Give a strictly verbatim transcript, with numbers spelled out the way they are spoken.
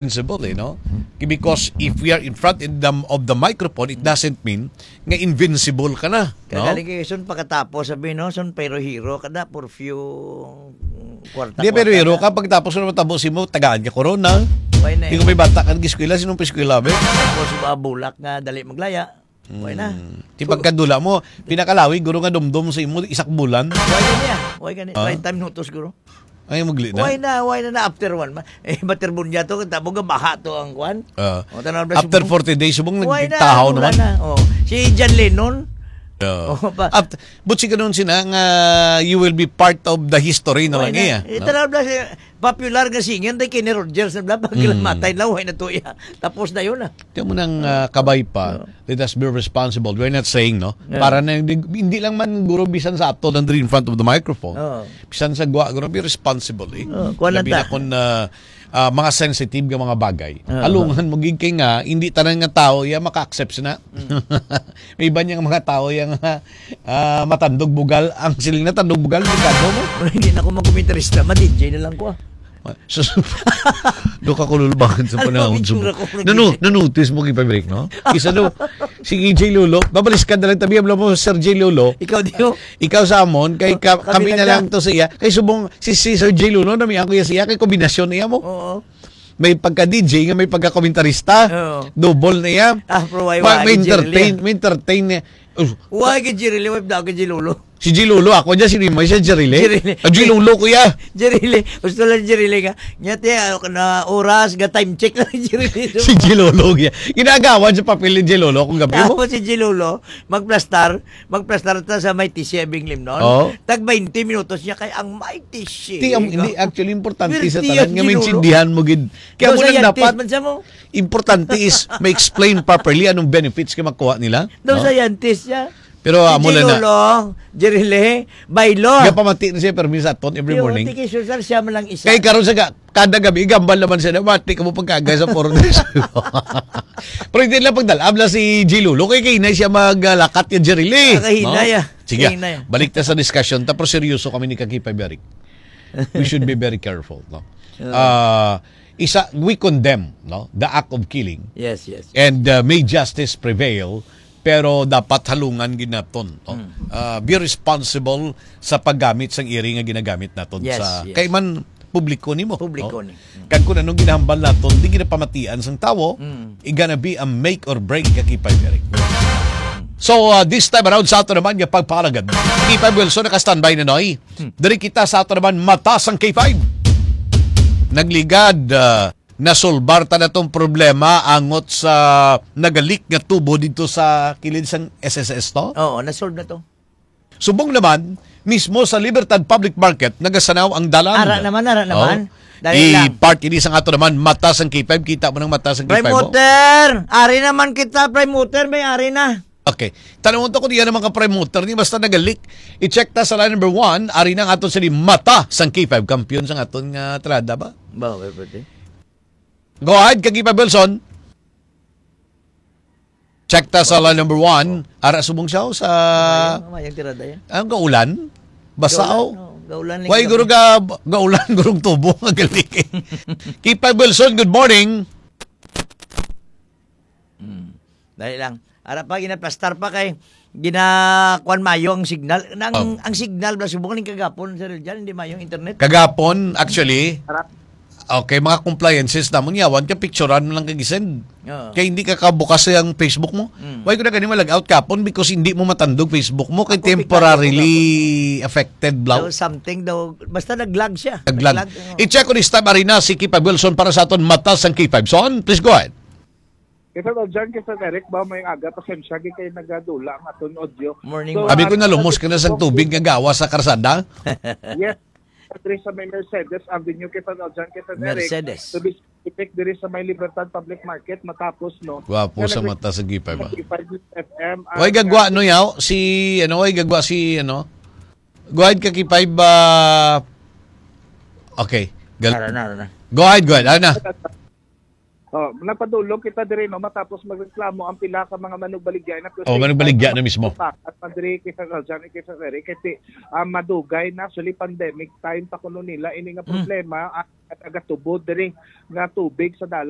invincible, eh, no? Because if we are in front in the, of the microphone, it doesn't mean nga invincible ka na, no? Kagaling kayo, son, pagkatapos, sabi, no, son, pero hero ka na, for few, mm, kwarta, Di, pero kwarta hero na. Ka, pagkatapos, ano matabo si mo, tagaan ka corona. Why na Di ko eh? May bata ka, nag-eskwela, sinong pa-eskwela, be? Tapos, ah, bulak nga, dali maglaya. Why na? Hmm. Di So, pagkadula mo, pinakalawi, guro nga dumdum sa imo, isak bulan. Why ka niya? Why ka niya? Ah? Treinta minutos, guro. Ay, magli na. Why na? Why na na after one? Ma-, eh, materbunya to, kita mo nga baha to ang kwan. Ah. O, tanaw na si After Bong. Forty days, subong Why na? Nagtahaw Wala naman. Na. Oh. Si John Lennon. Yeah. Oh, pa- Aft-, but si ganun sina nga you will be part of the history na Why lang na? Iya, Eh, no? Tanaw na si popular nga singer, day Kenny Rogers, na bla, pag Mm. Matay na, why na to iya? Tapos na yun, ah. Tiyan mo nang, ah, kabay pa, Oo. Let us be responsible. We're not saying, no? Yeah. Para na, hindi, hindi lang man guro bisan sa ato nandun in front of the microphone. Oo. Bisan sa gwa, guro, be responsible, eh. Oo, kuwan lang Labi na ta. Kung, ah, ah, mga sensitive nga mga bagay. Oo. Alungan mo gid kay nga, hindi tanan nga tao iya maka-accept na. Mm. May iba niya nga mga tao iya nga, ah, matandog bugal. Ang siling na tandog bugal, delikado mo. Hindi na ako magkomentarista, ma-D J na lang ko, ah. Ma-, sus-, do ka kululbangan sa Ano, panahon, picture subong. Ako, Nanu-, nag-D J. Nanotice mo, Kipay Break, no? Kisa do, si E J Lolo, babaliskad na lang tabi, abla mo, Sir J Lolo. Ikaw, di mo? Ikaw sa amon, kay ka-, Kami kami na lang. Lang to sa iya. Kay subong, si, si Sir J Lolo, nami ako iya sa iya, kay kombinasyon niya mo. Oo. May pagka-D J nga may pagka-komentarista. Oo. Double na iya. Ah, pero why, Ma-, why, may J L entertain, A? May entertain niya. Us- Why kay Jerry Lee? Why daw kay J Lolo? Si J Lolo, ako dyan, si Rima, siya Jerry Lee. Jerry Lee. Ah, J Lolo, kuya. Jerry Lee. Gusto lang Jerry Lee ka. Nya, te, ano ka na oras, ga time check lang Jerry Lee. Si J Lolo, kuya. Ginagawan sa papel ni J Lolo kung gabi mo. Tapos si J Lolo, magplastar, magplastar ta sa may T C I Binglim noon. Oo. Tag twenty minutos niya kay ang may T C I. Ti, ang, hindi, actually, importante sa Swerte tanan yan, nga J Lolo. Maintindihan mo gid. Kaya Daw mo lang scientist dapat, man siya mo. Importante is ma-explain properly anong benefits nga makuha nila, Daw no? Scientist siya. Pero Si amo lang na. Lolo, Jerry Lee, Baylo. Gapamati na siya, permi sa aton every Yo, morning. Tiki Cesar, siya man lang isa. Kay karon sa ga-, kada gabi, igambal naman siya na, "Mati ka mo pagkagay sa four days." Pero hindi lang pagdalab lang si J Lolo. Kay kay na siya maglakat kay Jerry Lee. Ah, kahinay, No? ah. Sige, Kahinay, ah. Balik ta sa discussion. Tapos seryoso kami ni Kakipay Berik. We should be very careful, no? Oo. Ah, isa, we condemn, no, the act of killing. Yes, yes, yes. And, uh, may justice prevail, pero dapat halungan gid naton, no? Mm. Uh, be responsible sa paggamit sang iri nga ginagamit naton Yes, sa yes. kay man publiko nimo, Publiko no? Ni. Mm. Kag kung anong ginahambal naton, di ginapamatian sang tawo, Mm. it gonna be a make or break, Kakipay Eric. So, uh, this time around sa ato naman nga pagpalagad, Kakipay Wilson naka-standby na, Noy. Hmm. Diri kita sa ato naman mata sang K five. Nagligad, ah, nasolbar ta na tong problema angot sa nagalik nga tubo dito sa kilid sang S S S to? Oo, nasolve na to. Subong naman, mismo sa Libertad Public Market, nagasanaw ang dalan. Ara naman, ara naman. Oh. Dali lang. I-part ini sang ato naman, mata sang K five. Kita mo nang mata sang K five, oh. Prime Water! Ari naman kita, Prime Water, may ari na. Okay. Tanawon ta kung diyan ang mga promoter ni basta nagalik. I-check ta sa line number one, ari na ang aton sini mata sang K five, kampiyon sang aton nga trada ba? Ba, okay, pwede. Go ahead, K five Wilson. Check ta sa line number one. Ara subong siya, oh, sa Mayang, mayang tirada yan. Ang gaulan? Basa, Gaulan, oh. Oh, gaulan lang Why, yung guro gabi. Ga-, gaulan, gurong tubo, ang galing. K five Wilson, good morning. Hmm. Dali lang. Ara pa, ginaplastar pa kay ginakuan mayo ang signal. Nang, Oh. Ang signal, bla, subong ning kagapon, Sir Jan, hindi mayo ang internet. Kagapon, actually, Ara. Okay, mga compliances namon, yawan ka, picturean mo lang kag i-send. Oo. Kay hindi ka kabukas ang Facebook mo. Mm. Why ko na gani ma-log out kapon? Because hindi mo matandog Facebook mo. Kay Ako, bigla temporarily ako, affected, bla. Daw something daw, basta nag-lag siya. Nag-lag. Nag-lag, oo. I-check ko ni Stab Arena, si K five Wilson para sa aton mata sang K five. Son, please go ahead. Kay Sir Aljan, kay Sir Eric, ba, may aga, pasensya, kay, kay nagadula ang aton audio. Morning, So, Abi ko, ah, nalumos ka na sa tubig nga gawa sa karsada. Yes. Diri sa may Mercedes Avenue, kay Sir Aljan, kay Sir Eric. Mercedes. To be specific, diri sa may Libertad Public Market, matapos, no? Gwapo Kaya sa nag- mata sa K five, ah. K five F M, Way ah, gagwa, no, yaw? Si, ano, way gagwa si, ano? Go ahead, K five, ah, okay. Gal- Ara na, ara na. Go ahead, go ahead. Ano na? Oh, nagpadulong kita diri, no, matapos magreklamo ang pila ka mga manugbaligya na Oh, manugbaligya na mismo. At man diri kay Sir Aljan, kay Sir Eric, kasi ah, madugay na, actually, pandemic time pa kuno nila ini nga Mm. problema, ang tagatubod diri nga tubig sa dalan